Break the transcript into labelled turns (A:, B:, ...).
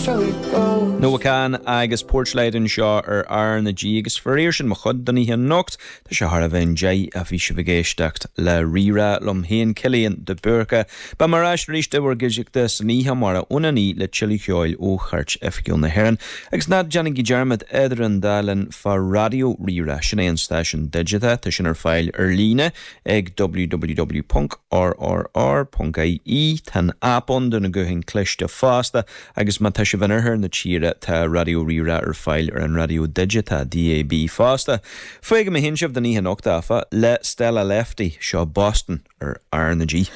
A: Noah Kahan agus Porchlight anseo ar R na G agus faraor sin mo chuid don oíche anocht. Tá sé thar a bheith 10 a bhí sibh ag éisteacht le Rí-Rá liom féin, Cillian de Búrca. Beidh mé ar ais arís i bhur gcuideachta san oíche amárach óna 9 le tuilleadh ceoil ó Chairt Oifigiúil na hÉireann. Agus ná déanaigí dearmad idir an dá linn fá Raidió Rí-Rá, sin é an stáisiún digiteach, tá sin ar fáil ar líne ag www.rrr.ie. Tá an aip ann do na gutháin cliste fosta agus má tá sibh in oirthear na tíre tá Raidió Rí-Rá ar fáil ar an raidió digiteach, DAB, fosta. Fágfaidh mé féin sibh don oíche anocht, áfach, le Stella Lefty, seo Boston ar R na G.